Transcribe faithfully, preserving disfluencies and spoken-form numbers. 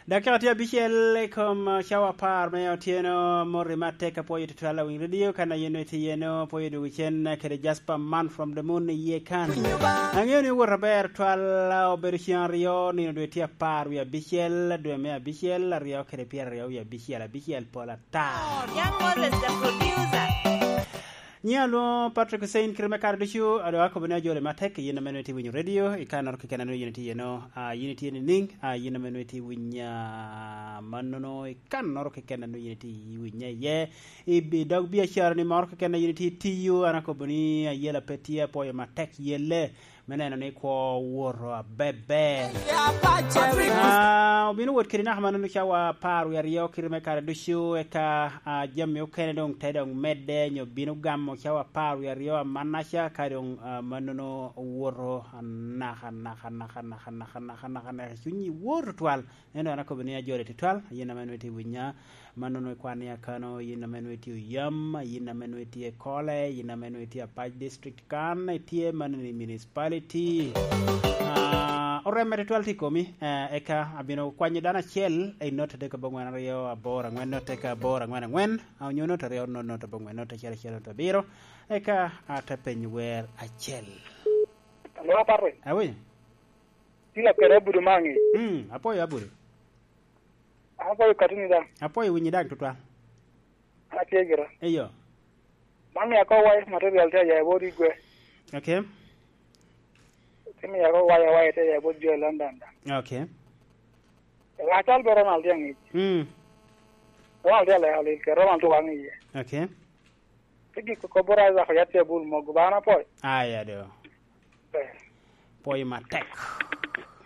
Dakika tye abicel i kom, uh, cawa apar me otyeno. Moti matek, apwoyo tutwal awiny radio, kan a yen itye iyeno, apwoyo dwogo cen kede Jasper Man from the Moon iye kan. Aŋeo ni owot aber twal, uh, obedo ceŋ aryo, nino dwe tye apar wie abicel, dwe me abicel, aryo kede pyeraryo wie abicel, abicel pol ata. Young Moses, the producer. Nyiŋa alwoŋo Patrick Hussein, kite me kare ducu, a doŋ akobo ni ajoli matek, yin ame nwoŋo itye winyo radio, i kannoro keken a nwoŋo yin itye iyeno, a, yin itye nining, a, yin ame nwoŋo itye winyo, a, mannono, i kannoro keken a nwoŋo yin itye winye iye, i bi-, dog biacara ni moro keken a yin itye tiyo, an akobo ni ayela pe tye, apwoyo matek yelle, me neno ni kwo owoto abeber. Ah, obino wot kede naka mannono cawa apar wie aryo kite me kare ducu, eka, ah, jami okene doŋ te doŋ medde, nyo bino gamo cawa apar wie aryo amannaca, ka doŋ, ah, mannono owoto anaka, naka, naka, naka, naka, naka, naka, naka, cunyi woto twal. Ento an akobo ni ajoli tutwal, yin ame nwoŋo itye winya, mannono ikwan ni akano, yin ame nwoŋo itye oyam, yin ame nwoŋo itye i Kole, yin ame nwoŋo itye Apac District kan, itye mannono i municipality. Ah, oremme tutwal tye i komi, eh, eka abino kwanyo dano acel i note adek aboŋwen aryo aboro aŋwen, note ka aboro aŋwen aŋwen, ah, onyo note aryo, note, note aboŋwen, note acel acel, note abiro, eka ate penyo wer acel. Alo, Patrick. Awi? Tila kede abudo maŋi. Mm, apwoyo abudo. An apwoyo katini daŋ. Apwoyo winyi daŋ tutwal. An atye gira. Eyo. Man mia ko wai material tye aya i bot igwe. Okay. Tye mia ko wai awai tye aya i bot jo i London daŋ. Okay. Acal be Ronald tye aŋic. Mm. Ronald tye aleko lil kede Ronald tye waŋ iye. Okay. Tye gik koko bot Isaac oyat tye abul mogo ba an apwoyo. Aya do. Eh. Pwoyo matek.